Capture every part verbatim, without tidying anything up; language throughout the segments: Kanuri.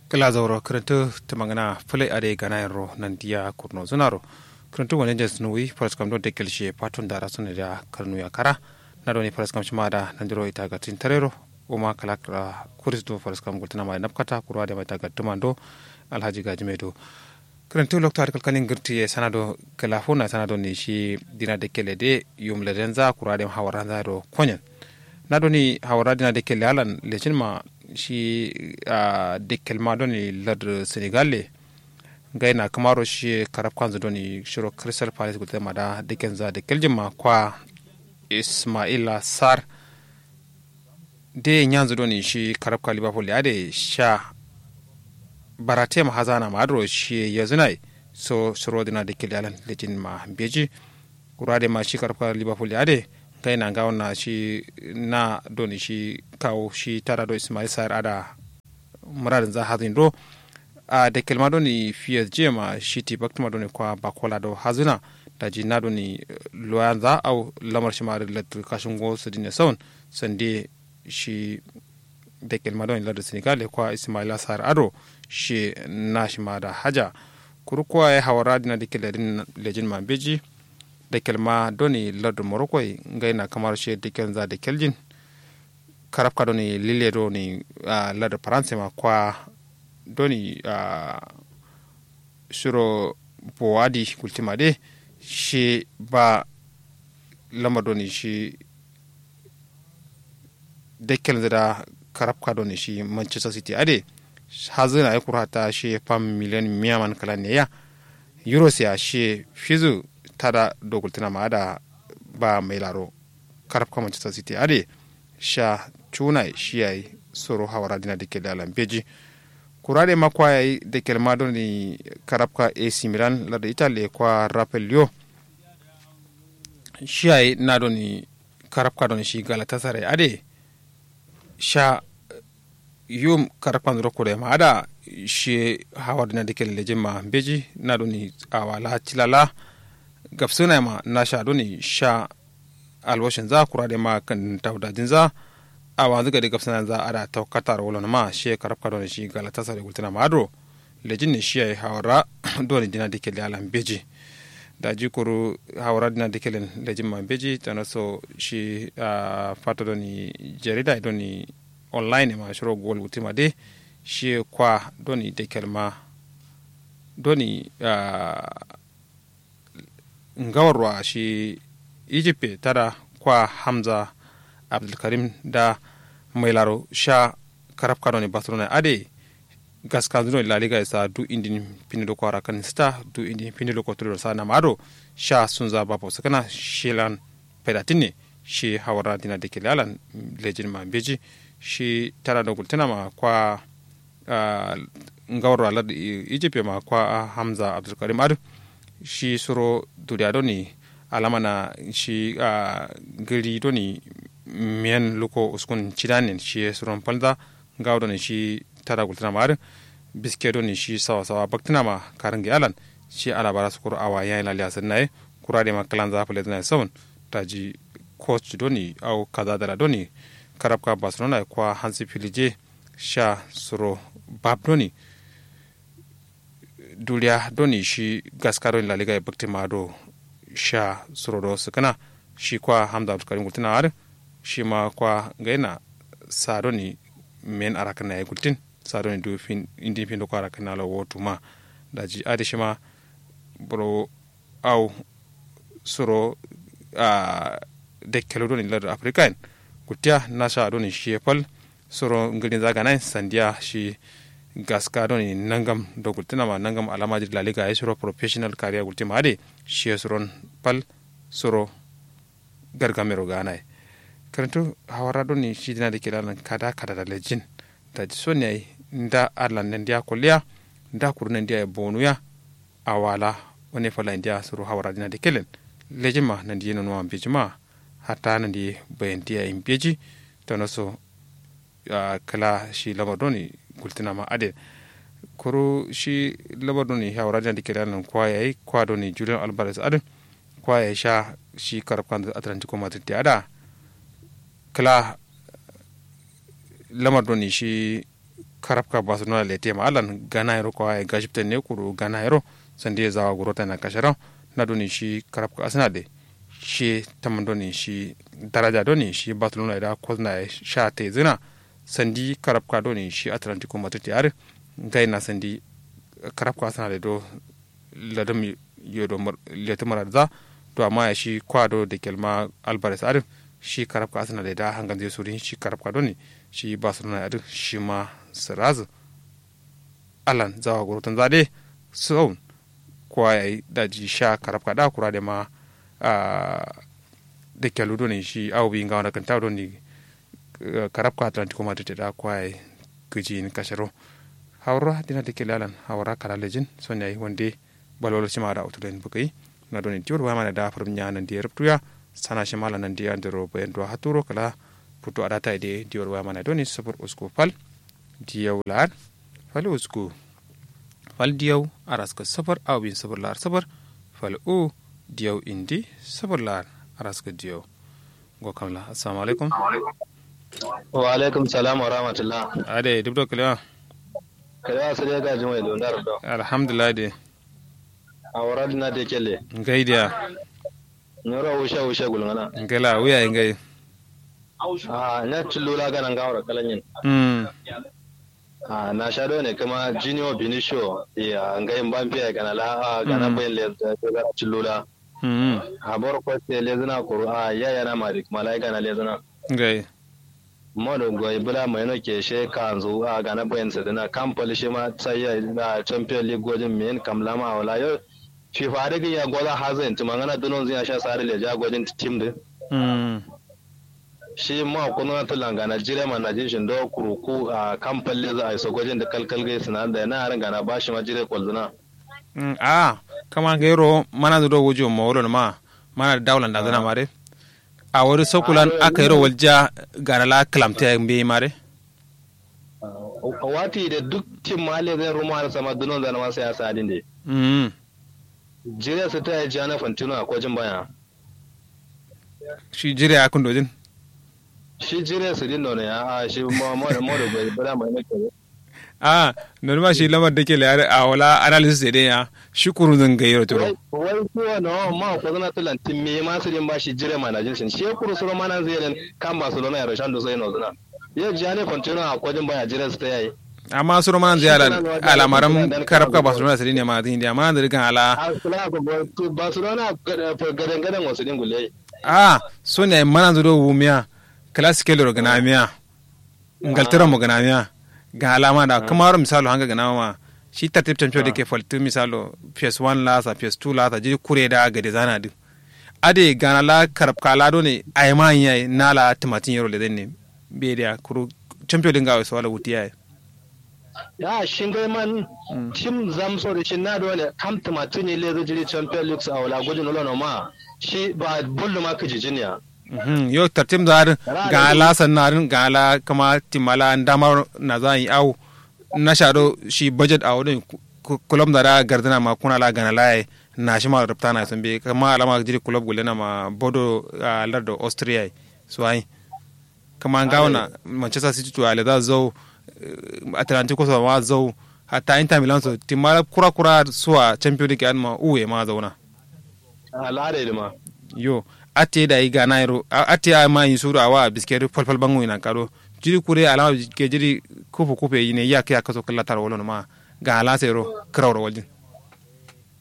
Kǝla zauro kǝrǝntǝ tǝmangǝna fǝlai adai ganayenro nandiya kurnozǝnaro. Kǝrǝntǝ wande nde sǝnuwi faraskam do dekkel shiye faton dara sǝnadiya karnuya kara. Na doni faraskam shima da nandiro ita gattin tarero. Uma kala kǝra kuris do faraskam gultǝna ma da nafkata kuru adai ma ita gattǝman do. Alhaji gajime do. Kǝrǝntǝ loktu adǝ kalkalin gǝrtǝ ye sana do. Kǝla funa sana doni shi dina dekkelle de yum ledenza kuru adai ma hawaranza do konyen. Na doni hawara dina dekkelle alan lecin ma shi dekkel ma doni lardǝ senegal le. Ngai na kǝmaro shi karab kanzǝ doni shiro crystal palace gultǝ ma da dekkenza dekkeljin ma kwa ismaila sar. De nyanzǝ doni shi karabka liverpool ya de sha. Barate ma hazana ma adro shi yazunai. So suro dina dekkelle alan lecin ma beji. Kura de ma shi karabka liverpool ya de ngai na ngawo na shi na doni shi kawo shi tara do ismail sar ada. Muradin za hazin do. A dekkel ma doni fiyas je ma shiti baktuma doni kwa bakola do hazuna. Daji na doni loyan za au lamar shima da lattu kashin go su dine saun. Sande shi dekkel ma doni lattu senegal kwa ismaila sar ado. Shi na shima da haja. Kuru kwa ya hawara dina dekkel da din lejin ma beji. Dekkel ma doni lattu morocco ngai na kamar shi dekkel za dekkel jin. Karabka doni lille doni ladar faransa ma kwa doni shiro bowadi gultima de. Shi ba lamar doni shi dekkel nzada karabka doni shi manchester city ade. Hazina ya kuru hatta shi fam miliyan miyaman kala ne ya. Euros ya shi fizu tada do gultina ma ada ba mai laro. Karabka manchester city ade sha cunai shi yayi soro hawara dina dikelle alan beji. Kura de ma kwa yayi dikkel ma doni karabka ac milan lado italy kwa rapelio. Shi yayi na doni karabka doni shi galatasaray ade sha yum karabka nzuro kure ma ada. Shi hawar dina dikelle lejin ma beji na doni awala cilala. Gabsuna ma nasha doni sha alwashin za kura de ma kan tawdajin za. Awanzu gade gabsuna za ada tawkataro wulon ma shi karabka doni shi galatasaray gultuna ma adro. Lejin ne shi yayi hawara doni dina dikelle alan beji. Daji kuru hawara dina dikellen lejin ma beji tana so shi fata doni jarida doni online ma shiro gol gultima de. Shi kwa doni dikkel ma doni ngawarwa shi egypt tada kwa hamza abdulkarim da mai laro sha karabka doni barcelona ade. Gaskanzu doni laliga isa du indin findi loko arakan sita du indin findi loko tuliro sa nama ado sha sunza babo sukuna shilan. Faidatin ne shi hawara dina dikelle alan lejin ma beji. Shi tada do gultuna ma kwa ngawar alar egypt ma kwa hamza abdulkarim adu. Shi suro duriya doni alama na shi gari doni miyan luko uskun cidanin shi suron falza. Ngawo doni shi tada gultuna ma adu biske doni shi sawa sawa baktuna ma karin gi alan. Shi alabara sukuru awa yayi laliya sirnaye kura de ma kalanza fule zina saun. Taji coach doni au kaza dara doni karabka barcelona kwa hansi filije sha suro bab doni. Duriya doni shi gaska doni laliga ye bakti ma do sha suro do sukuna. Shi kwa hamza abdulkarim gultuna adin shi ma kwa ngaina sa doni men arakana ye gultin sa doni du fin indin fin do kwa arakana lo wotu ma. Daji adi shi ma buro au suro a dekkelo doni ladar africa en gultiya nasha doni shiye fal. Suro ngilin zagana en sandiya shi gaska doni nangam do gultina ma nangam alama jiri laliga ye suro professional career gultima ade shiye suron fal. Suro gargamero gana ye. Karantu hawara doni shi dina dikelle alan kada kada da lejin. Daji soni yayi nda alan nandiya kolliya nda kuru nandiya ye bonuya. Awala wane fala indiya suru hawara dina dikellen lejin ma nandi ye nonuwa mbeji ma. Hatta nandi bayandiya ye mbeji. Tano so kala shi lamar doni gultina ma aden. Kuru shi lamar doni hawara dina dikellen alan kwa yayi kwa doni julian albares adin kwa yayi sha shi karabkan atlantico madrid ya ada. Kala lamar doni shi Karabka barcelona lete ma allan gana yero kwa ye gashipten ne kuru gana yero sande zawa guro tana kasharo. Na doni shi karabka arsenal de shi taman doni shi daraja doni shi barcelona da kozna sha te zina sandi karabka doni shi atlantico madrid yare. Ngai na sandi karabka arsenal do ladam yodo letu marad za. To amma ya shi kwa do da kelma albares adin shi karabka arsenal da hangan zai surin shi karabka doni shi barcelona adin shi ma sirazin. Allan zawa gurutun zade sau kwa ya yi daji sha karabka da kura da ma da kelu doni shi awu bi ngawa na kanta doni karabka atlantico madrid da kwa ya yi gaji ni kasharo. Haura dina da kelu allan haura kala lejin son ya yi wande balwalo shima da utulen bugai. Na doni diwol waya mana da furum nya nan diya rubtuya sana shima la nan diya ndero bayan do haturo kala futu adata ide diwol waya mana doni sufur usku fal diyau la'ar fal usku fal diyau araska sufur awin sufur la'ar sufur fal u diyau indi sufur la'ar araska diyau. Go kamla assalamu alaikum. Wa alaikum salam wa rahmatullah. Ade dubdo kalewa. Kalewa sare ga jumai dondar do alhamdulillah de. Awara dina de kelle. Ngai dia. Nura usha usha gulngana. Ngala wuya ngai. Ah nya chillula gana ngawra kalanyin. Mm. Ah na shado ne kuma junior binisho ya ngai mbampiya gana la ah gana bayin le chillula. Mm. Abor ko te lezina kuru ah ya yana mari kuma la gana lezina. Ngai. Modo goi bula maino ke she kanzu a gana bayan sadina kam pali shima sai ya champion league gojin min kam lama awala yo. Fifa da gin ya goza hazin tuma ngana dunon zin ya sha sari leja gojin tim din. Mm. Shi ma kunu na tulan gana jire ma na jin shindo kuruku a kam pali za a iso gojin da kalkal gai sina da na harin gana ba shi ma jire kolzina. Mm, a kama gairo mana zudo wujo mawolo ma mana da daulan da zana ma dai. A wari sokulan aka yiro walja gana la kalamte mbeyi mare. Wati de duk tim ma le zai ruma da sama dunon zana ma sai asa din de. Mm. Jire su ta yi jana fantino a kojin baya. Shi jire a kundo din. Shi jire su din nono ya a shi mo mo mo da bai bada mai nake. A nonu ma shi lamar da ke layar a wala analysis de ya shi kuru zan gayi ro turo. Wai kuwa no ma ko zana tulan timme ma su din ba shi jire ma na jin shin shi kuru suro ma nan zai ran kan barcelona ya rashan do sai no zuna. Yo jane fantino a kojin baya jire su ta yayi. Amma suro ma nan zai ala alamaram karabka barcelona su din ya ma zin dia ma nan zai gan ala. Barcelona gadan gadan wasu din gule. A so ne mana zuro wumiya. Classical ro gana miya. Ngaltara mo gana miya. Ga alama da kuma ro misalo hanga gana ma shi tartib champion da ke faltu misalo phase one lasa phase two lasa jiri kure da gade zana din. Ade gana la karabka la done ayma yayi nala timatin yero le denne. Be da kuru champion din ga so wala wuti yayi. Ya shingai man tim zamso da shin na dole kam timatin yele da jiri champion league a wala gudun wala no ma shi ba bullu ma kijijin ya. Mhm, yo tartim da harin ga ala sanna harin ga ala kama timala ndamar na zan yi au. Na shado shi budget a wurin kulom da da gardana ma kuna la gana laye. Na shi ma rubta na sun be kama alama jiri kulob gulena ma bodo a lardo austria. So ai kama ngawo na manchester city to ale da zau atlantico so ma zau. Hatta inter milan so timala kura kura suwa champion league an ma uwe ma zauna. Al'ada ilma. Yo ate da yi gana yero ate a ma yin suru awa biskeri falfal bangu ina kado. Jiri kure alama ke jiri kufu kufe yi ne ya kiya kaso kalla tar wolo ma ga alasa yero kira wuro waljin.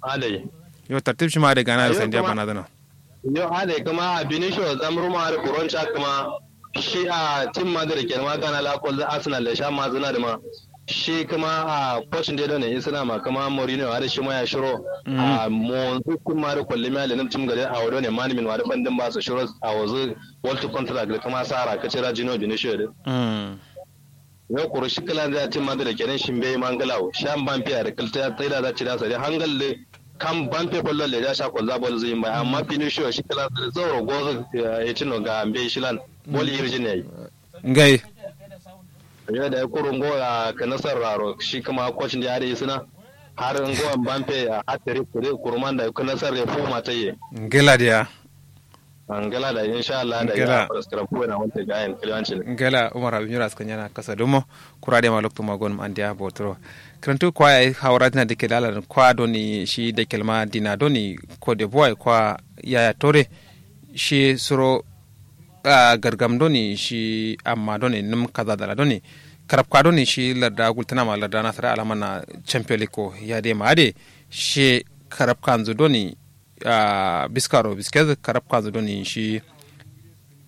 Adai. Yo tartib shi ma da gana yero sandiya bana zana. Yo adai kuma a binisho zamru ma da kuron sha kuma shi a tim ma da rike ma gana la kol arsenal da sha ma zuna da ma. Shi kuma a coach de done isna ma kuma mourinho har shi ma ya shiro a monzu kun ma da kullum ya lenin tim gare a wado ne man min wa da fandin ba su shiro a wazu world contract da kuma sara ka cira jino binisho da. Yo kuru shi kilan zai tim ma da kenan shi bai mangalawo shan ban fiya da kilta ya tsaida za ci da sare hangal da kam ban fe fallo le ja sha kwalza bol zuyin bai amma finisho shi kilan zai zauro gozo ya tino ga ambe shilan bol irjin yayi. Ngai. Yo da kuru ngo ya ka nasar raro shi kuma coach da ya da isna har ngo ban fe ya hatari kuru man da ka nasar ya fuma ta yi. Ngila dia. Ngala da insha Allah da ya faraskara fuwe na wanta gayen kiliwancin. Ngala umar habib nyura suka nyana kasa dumo. Kura de ma loktu ma gonum andiya botoro. Krantu kwa ya hawara dina dike dala kwa doni shi dake ma dina doni ko de boy kwa yaya tore. Shi suro gargam doni shi amma doni num kaza dala doni karabka doni shi larda gultana ma larda nasara alama na champion league ko ya de ma ade. Shi karabka nzu doni biskaro biskez karabka nzu doni shi.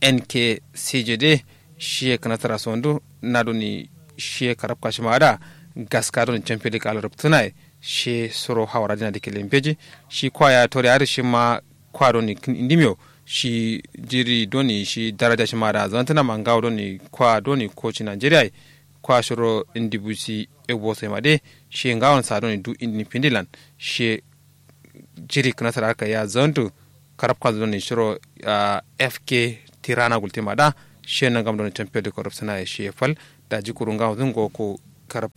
N K C J D. Shiye kǝnatǝra sondu na doni shiye karabka shima ada gaska doni champion league ala ruptǝnaye. Shiye suro hawara dina dike lembeji. Shi kwa ya tore adǝ shima kwa doni kǝn indimiyo. Shi jiri doni shi daraja shima ada zantǝna ma ngawo doni kwa doni koci nigeria ye. Kwa shiro indi busi egbo sai ma de. Shiye ngawon sa doni du indi findilan. Shiye jiri kǝnasara aka ya zantu. Karabkanzu doni shiro fk tirana gultima da. Shiye nangam doni champion de korop sanaye shiye fal. Daji kuru ngawon zun go ko karab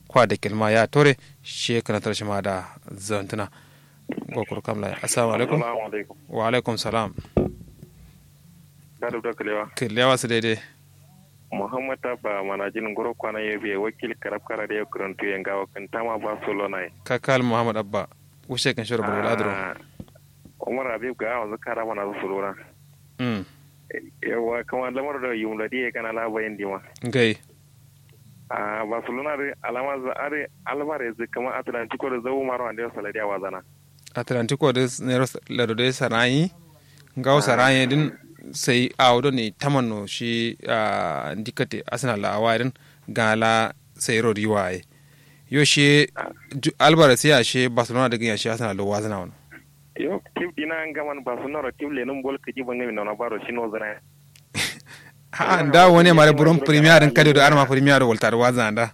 kwa de kelma ya tore. Shiye kǝnasara shima da zantuna. Go kuru kamla assalamu alaikum. Wa alaikum salam. Kǝllewa sǝ daidai. Muhammad abba manajin nguro kwana yobe wakil karab kara da yau kǝrantu ye ngawo kǝntama barcelona ye. Kakal muhammad abba. Wushe kǝn shiro bulbul adǝro. Umar habib ga wanzu kara mana zu suluna. Yauwa kǝma lamar do yumladi ye kana la bayin dima. Ngai. Ahh barcelona dǝ alama zǝ adǝ alvarez dǝ kǝma atlantico dǝ zau maro ande saladiya wazana. Atlantico dǝ nero lado dǝ sarayi. Ngawo sarayi dǝn sai awo done tamanno shi ahh ndikate arsenal la awaye dǝn. Gana la sai ro riwaye. Yo shi alvarez ya shi barcelona dǝ gǝnya shi arsenal do wazǝna wono. Yo tip dina ngaman barcelona ro tip lenǝm bol kǝji bangǝmi nona baro shi nozǝna. A'a nda wane mare buron premier din kade do arma premier do walta do wazana da.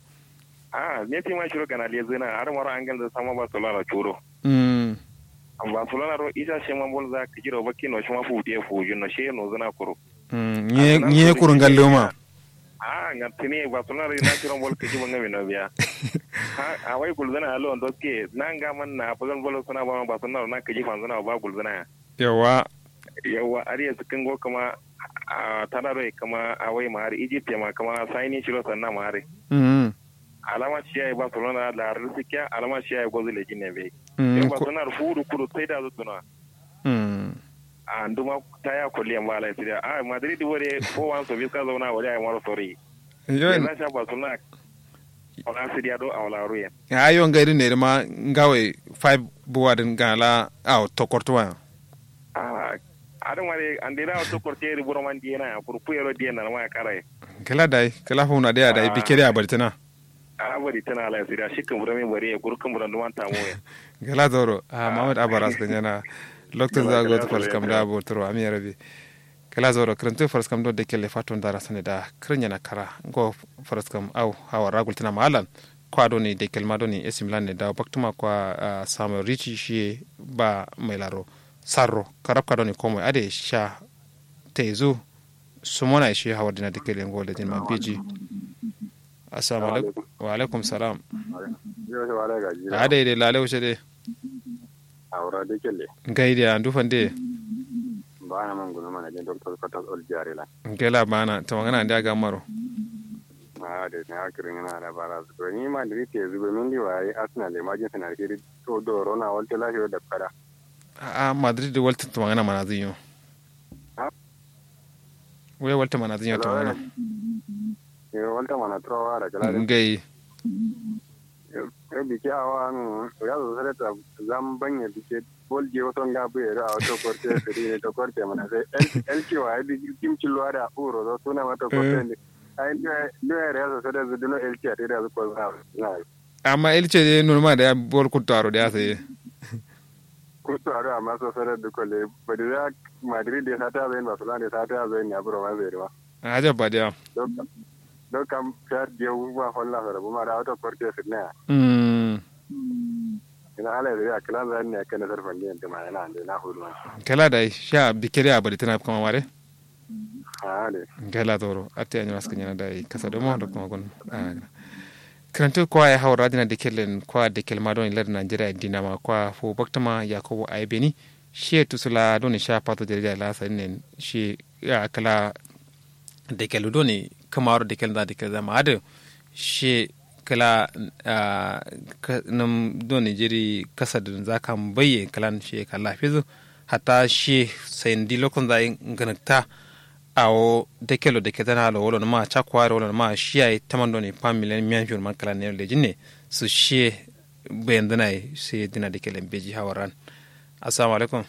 A'a messi ma shiro gana lezina arma ro angal da sama barcelona ro churo. Mm. Barcelona ro isa shema bol za kijiro bakki no shima fu de fu jin no she no zina kuro. Mm nye nye kuru ngallo ma. A'a ngatini barcelona ro na shiro bol kiji bangami no biya. Ha awai gulzana alo ndo ke na ngaman na bazan bol suna ba barcelona ro na kiji fanzana ba gulzana ya. Yauwa. Yauwa adǝ ye sǝkkǝn go kǝma. Ahh tada doi kǝma awai ma adǝ egypt ye ma kǝma saini shiro sanna ma adǝ. Alama shiya ye barcelona larrǝ sǝkkiya alama shiya ye gozu lejin ne mbeyi. Yo barcelona dǝ fuwu dǝ kudu sai da zǝ duna. Ahh nduma taya kolliyen ba alai sǝdiya ahh madrid dǝ wode four one so biska zauna wode ayi maro sori. Yo en. Sha barcelona. Wala sǝdiya do awala ruyen. Ahh yo ngai dǝ ne dǝ ma ngawai five buwa dǝn gana la awo tokortǝ wayan. Ahh adǝ mare ande da awo tokortǝ ye dǝ buro man diyena ya kuru kuyero diyen nana ma ya karaye. Kǝla dai kǝla funa dai ya dai bike dai ya bari tǝna. Ahh bari tǝna alai sǝdiya shi kǝmburo min bari ye kuru kǝmburo nduman tamu ye. Kǝla zauro ahh muhammad abba raskǝ nyena. Loktu za gotu fal kam da boturo amin ya rabi. Kǝla zauro kǝrǝntǝ faraskam do dekelle fatto ndara sane da kǝrǝnyana kara ngo. Faraskam au hawara gultǝna ma allan. Kwa doni dekkel ma doni esimlan ne dawo baktǝma kwa. Samuel rici shiye ba mailaro sarro karabka doni komoi adǝ ye sha. Taizu sumona ye shiye hawar dina dekkelle ngo lejin ma biji. Assalamu alaikum. Wa alaikum salam. Adai dai lale wuce dai. Aura de kelle. Ngai dia ndu fande. Bana man gunu mana jin doktor katas ol jare la. Ngela bana to magana ndia gamaro. Ade ne akiri ngana ala bara to ni madrid te zugo min di wai arsenal e majin sana kiri. To doro na walte la yo da kada. A'a madrid de walte to magana mana zinyo. Wai walte mana zinyo to magana. Yo walte mana to wara kala. Ngai. Yo bike awa no ya zo sare ta zam banye bike. Bol je wato nga buye ro awa to korte siri ne to korte mana sai. Elki wa ya bi kim cilwa da uro zo suna ma to korte ne. Ai nduwe re ya zo sare zu duno elki a te da zu ko na. Amma elki de nunuma da ya bol kuttu aro da ya sai. Kuttu aro amma so sare du ko le badi za madrid de sata zai barcelona de sata zai ne aburo ma zai ma. Ajab ba da ya. Don kam fiya diyo ma holla sara buma da auto korte sirna ya. Mm. Ina ala da ya kala zan ne kana sarfan ne da ma yana da na hudu ma. Kala da sha bikiri a bari tana kuma mare. Ah de. Kala toro atte anyo aska nyana da kasa do mo do kuma gun. Kranto kwa ya hawra dina de kellen kwa de kelma don lar nigeria dina ma kwa fo baktama yakubu aibeni. Shiye tusu la doni sha fato jarida la sadin ne shiye kla. Dekelu doni kǝmaro dekel nza dekel zama adǝ shiye kla. Nǝm doni jiri kasadǝ nza kambaye klan shiye kalla fizǝ. Hatta shiye sai ndi lokto nza ye ngǝnǝkta. Awo dekelo dekel zana lo wolo nǝma cakko adǝ wolo nǝma shiye yayi taman doni fam miliyan miyan fiyo nǝman klan nero lejin ne. Su shiye bayanzǝna ye sai dina dekelen beji hawaran. Assalamu alaikum.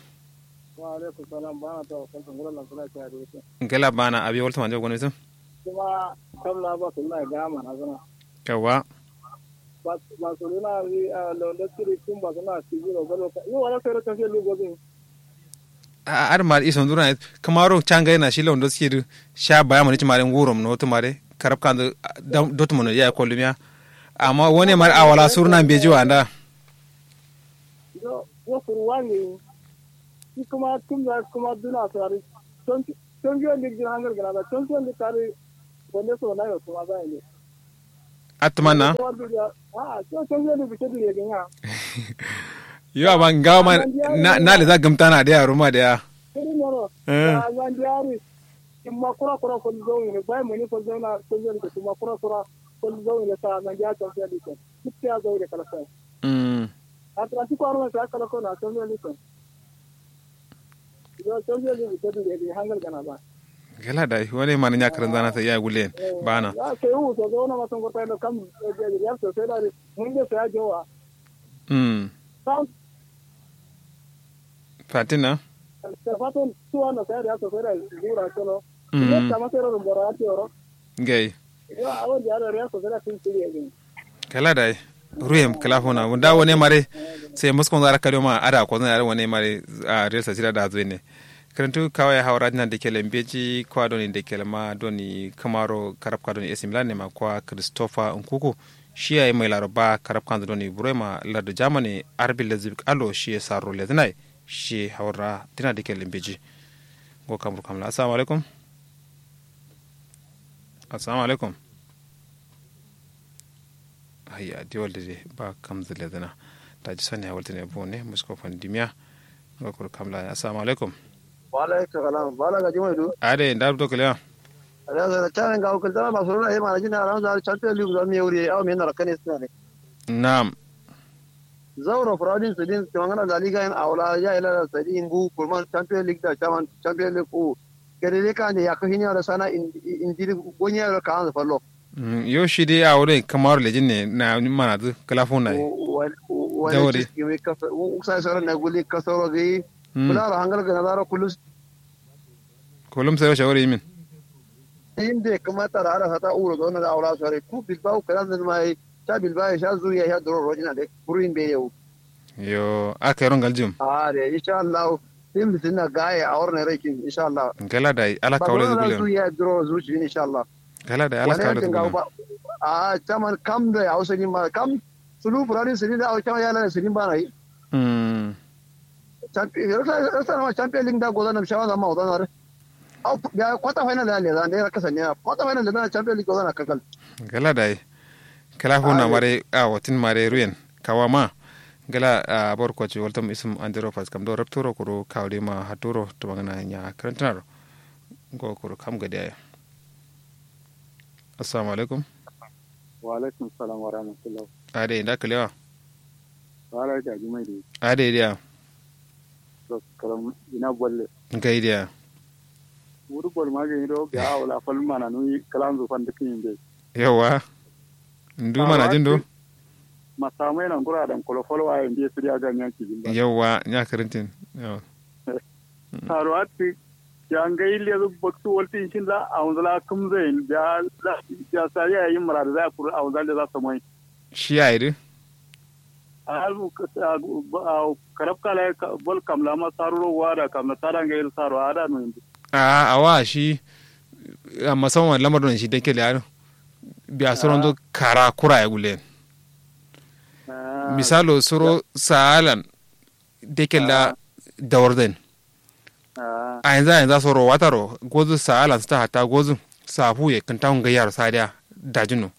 Wa alaikum salam bana ta wa kalta ngura lan suna ta da yake. Ngala bana abi walta manje goni sun. Kuma kam la ba sunna ga mana zana. Yawa. Ba ba sunna wi a londo kiri kun ba sunna sigi ro galo ka yi wala sai ro tafiya lugo bin. A ar mar ison dura kamaro changa na shi londo sigi sha baya mani ci mare ngurom no to mare karab kan dotu mono ya kollumiya. Amma wone mare awala surna beji wanda. Yo yo furu wangi. Shi kuma tun da kuma duna sari. Champion league din hangal gana da champion league kare wanda so na yo kuma ba ne. Atman na. Ah so champion league ke dire ganya. Yo amma ngawa ma na na le za gamta na da yaro ma da ya. Kiri moro. Eh. Zan diari. Kuma kura kura ko zo ne bai mani ko zo na ko zo ne kuma kura kura ko zo ne sa na ya champion league. Kiti ya zo da kala sai. Mm. Atlantic ko arma sa kala ko na champion league. Gela dai wani mani nya kǝrǝnzana sai ya gullen bana. Mm. Fatina. Ngai. Kala dai. Ruyem kala funa wunda wane mare. Sai muskon zara kadiyo ma ada ko zan yare wane mare. A riyal sasira da zuwe ne. Kǝrǝntu kawai hawara dina dekele mbeji kwa doni dekele ma doni kamaro karabka doni ac milan ne ma kwa christopher nkuku. Shi yayi mai laro ba karabka doni buroi ma lardu germany arbi lezibik alo shi ya saro lezinai. Shi hawara dina dekele mbeji. Ngo kamru kamla assalamu alaikum. Assalamu alaikum. Ayya diwal dǝ dǝ ba kamzǝ ledǝna. Daji sone ya waltǝne bone musko fandimiya. Ngo kuru kamla assalamu alaikum. Wa alaikum salam bala gaji mai du. Ade nda dubto kǝlewa. Ade sone camen gawo kǝltana barcelona ye manajin aranza champion league zan me wuri ye awo me nara kane sǝna ne. Naam. Zauro furadin sǝdin tǝmangana la liga yen awo la ya ila la sǝdin ngu kurman champion league da champion league ku. Gade de kande yakka hiniya do sana indiri gonya do kaanzǝ fallo. Yo shi de awo doi kǝmaro lejin ne na manazǝ kǝla funaye. Dawari. Uksa soro na guli kasoro gai. Bularo hangal gana zaro kulus. Kulum sai shawari yimin. Inde kǝma tara ada sata uro zona da awo la sore ku bilbao kǝlanzǝ ma ye. Sha bilbao ye sha zuriya sha duro rojina de buruyin be yewu. Yo aka yero ngaljim. Ahh de insha allah. Tim bitinna gaye awor ne rai kin insha allah. Ngala dai ala kawle zu gulem. Zu ya duro zu shi insha allah. Ngala dai ala kawle zu gulem. Ahh chaman kam do ya usani ma kam. Sulu furani sani da awo chaman ya lana sani ba na yi. Mm. Champion rasa rasa na champion league da goza nam shawa zama goza na re. Au ya quarter final ya leza ne raka sanya quarter final leza na champion league goza na kakal. Ngala dai. Kala funa mare a watin mare ruyen. Kawa ma. Ngala a bor kwaci waltam isum andiro fas kam do rapturo kuro kawde ma haturo tumangana nya karantinaro. Ngo kuro kam gade aya. Assalamu alaikum. Wa alaikum salam wa rahmatullah. Ade nda kalewa. Wala ja jumai de. Ade dia. Karam ina bolle. Ngai dia. Wuri bol ma ga ido ga awla fal mana nui kalanzu fan duk inde. Yawa. Ndu mana jin do. Masamai na ngura dan kolo fal wa inde su dia ga nyan ki jin ba. Yawa nya karintin. Yawa. Taro atti. Ya ngai lezu baktu waltin shin la awunzula kumzain. Ya sariya yin muradu za kuru awunzula za samai. Shi yayi dǝ. Karab kala bol kamla ma saruro wada kamla tada ngai saro ada no indi. Ahh awa shi. Amma son wani lamar don shi dake liya dǝ. Biya soron do kara kura ya gulen. Misalo soro sa'alan. Dake la dawar zain. A yanzu a yanzu soro wataro gozu sa'alan sita hatta gozu. Safu ye kǝnta ngai yaro sadiya. Dajino.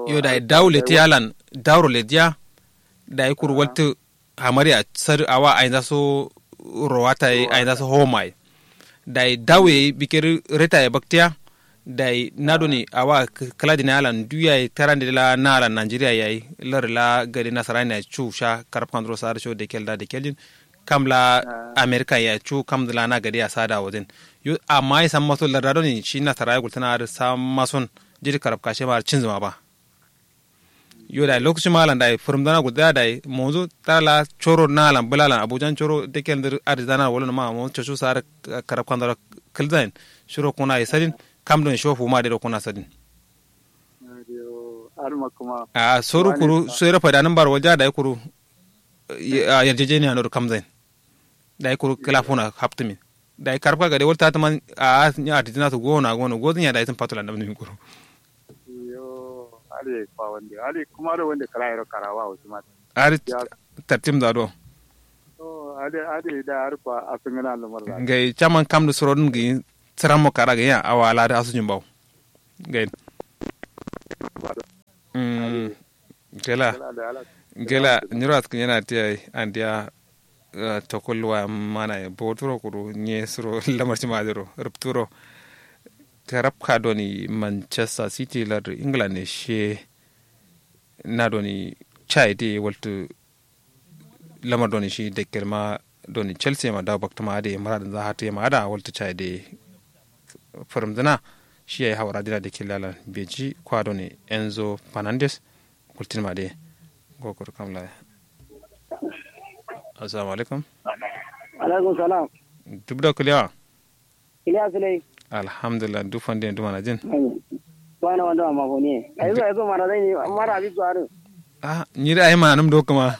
Yo dayi dawu leti alan. Dawuro lediya. Dayi kuru waltu. hamari ya sar awa ainza so rowata ye ainza so homa ye. Dai dawe ye bikir reta ye baktiya. Dai na doni awa kla dina alan duya ye tarande la na alan nigeria yayi lar la gade nasarani ya cu sha karab kanduro sar sho dekel da dekel din. Kam la amerika ya cu kam la na gade ya sada wodin. Yo amma ye samma so lar da doni shi nasara ye gultana ar samma son. Jiri karab kashe ma ar cinzuma ba. Yo dai lokacin ma alan dai furumzana gulzaya dai monzu tara la coro na alan bula alan abujan coro dekel ndir adizana wolo ma monzu cocu sar karab kanduro. Kilzain shiro kuna ye sadin. Kam don sho fuma de do kuna sadin. A soru kuru soyiro faidanin baro walja dai kuru. Yarjejeniya nodo kamzain. Dai kuru kila funa haptumin. Dai karabka gade walta hatuman. A nya adidina su gona gona gozin ya dai sun fatula namnumin kuru. Yo. Ade kwa wande ade kuma do wande kala yero karawa wutu ma. Ade tartim za do. Ade ade da har kwa afingana lumar za. Ngai chaman kam do surodin gi. Siran mo kara gi ya awa ala da asujin bawo. Ngai. Gela. Gela nyiro askǝ nyena tiya ye andiya. Tokul waya mana ye boturo kuru nye suro lamar cima dǝro rupturo. Karabka doni manchester city lardu england ne shiye. Na doni chai de waltǝ. Lamar doni shi dekkel ma doni chelsea ma dawo baktǝma adǝ ye muradǝnza hatǝ ye ma ada waltǝ chai de. Fǝrǝmdǝna. Shi yayi hawara dina dekkel lalan beji kwa doni enzo fernandes. Gultin ma de. Gokur kamla. Assalamu alaikum. Alaikum salam. Duk da kulewa. Iliya sulai. Alhamdulillah duk fande duk mana jin. Wana wanda ma fone ai zo ai zo mana zai ne mara abi zuwa rin. Ah nyiri ai ma num do kuma.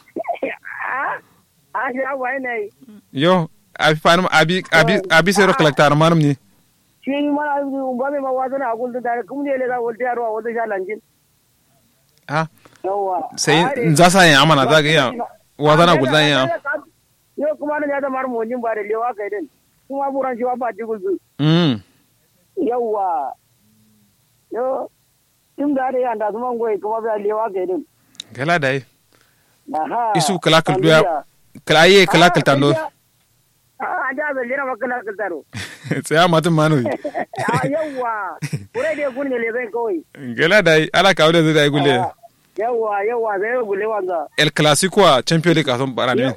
Ah shi abu ai nai. Yo abi fanum abi abi abi sai ro kalakta manum ni. Shi mara abi ba mai ma wazana a kullum da kuma ne le za wal tiyarwa wal sha lanjin. Ah. Sai nza sa yin amana za ga iya. Wazana gulzan iya. Yo kuma na ya da mar monjin ba da lewa kai din. Kuma buran shi wa ba digul zu. Mm. Yawwa. Yo. Tim da da yanda kuma ngoyi kuma ba lewa kai din. Gala dai. Aha. Isu kala kal duya. Kala ye kala kal tando. An da zallira ma kala kal taro. Sai amma tun mano yi. Yawwa. Kure da kun ne le zai kawai. Gala dai ala kawo da zai dai gule. Yawwa yawwa zai gule wanga. El clasico a champion league a son bara ne.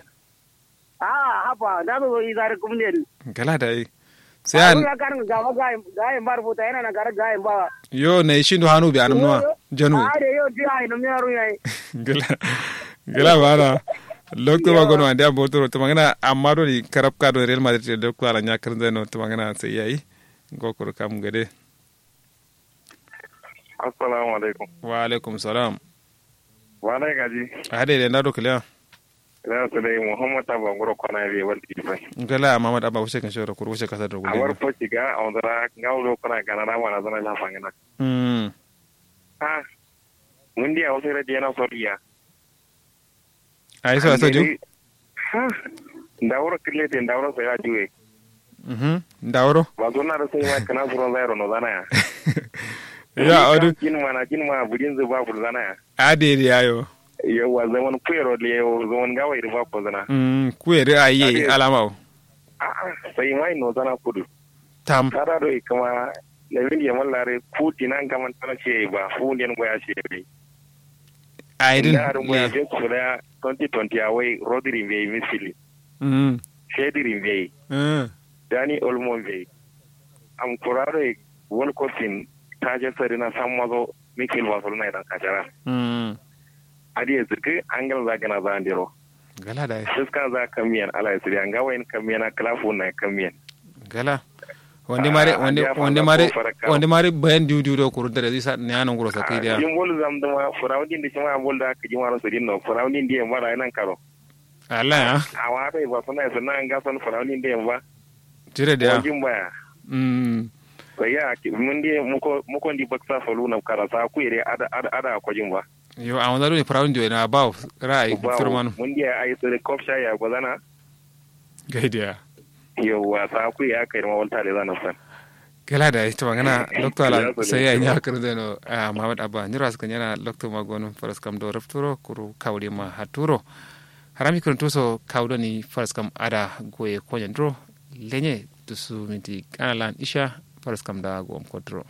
A'a haba na zo yi zare kumne. Gala da yi. Sai an ga kan ga ma ga ga yin bar futa yana na gar ga yin ba. Yo na yi shindo hanu bi anum nuwa. Janu. Are yo ti ai num yaro yayi. Gala. Gala bana. Lokto ba gono ande abotoro to magana amma do di karab ka do real madrid do ko ala nya kan zeno to magana sai yayi. Gokoro kam gade. Assalamu alaikum. Wa alaikum salam. Wa alaikum gaji. Hade de ndado kiliya. Ina sule muhammad abba nguro kwana be wal ki bai. Ngala muhammad abba wuce kan shoro kuru wuce kasar da gulle. Awar foci ga a wanda ra ngawo do kuna gana na mana zana la fangana. Mm. Ah. Mun dia wasu radiya na soriya. Aiso aiso ju. Ndawuro kǝrlete ndawuro sai ya juwe. Ndawuro. Ba zonna da sai ma kǝna suron zairo no zana ya. Ya odu. Jin mana jin ma bujin zuba bul zana ya. Adede yayo. Yawwa zaman kuyero lewo zaman gawai da ba ko zana. Kuyere ayi alama o. A'a sai mai no zana kudu. Tam. Tada do ikama. Lamine yamal lare ku dinan gaman tana ce ba fu nden goya ce. Aidin nda adun goya be kula twenty twenty awai rodri be misili. Mm. Fedri be. Mm. Dani olmo be. Am kuraro e wol kopin taje sarina sammazo mikil barcelona idan kajara. Mm. Adi e zikki angal za gana za andiro. Gala dai. Siskan za kammiyen ala isiriya nga wayin kammiyen a kala fuwun na kammiyen. Gala. Wande mare wande mare wande mare bayan diu diu do kuru dare zai sa ne anan guro sakai da. Jin bol zam duma furawun din da shi ma bol da ka jima ro sadin no furawun din da yamba da nan karo. Allah ya. Awa dai ba suna suna an ga son furawun din da yamba. Jire da ya. Jin baya. Mm. Sai ya mun di muko muko di baksa solu na kara sa ku ire ada ada ada ko jin ba. Yo a wanda dole fara wanda na ba ra'ayi firmanu. Mun diya ai sore kofsha ya gozana. Gaidiya. Yawwa sa ku ya kai ma walta da zana san. Gala da ita magana lokto ala sai ya nya kar zeno. Muhammad abba nyiro aska nyana lokto magonum faras kam do rafturo kuru kawri ma haturo. Harami kǝrǝntuso kawu doni faraskam ada goye konyen duro. Lenye dusu minti kanalan isha faraskam da gowom koduro.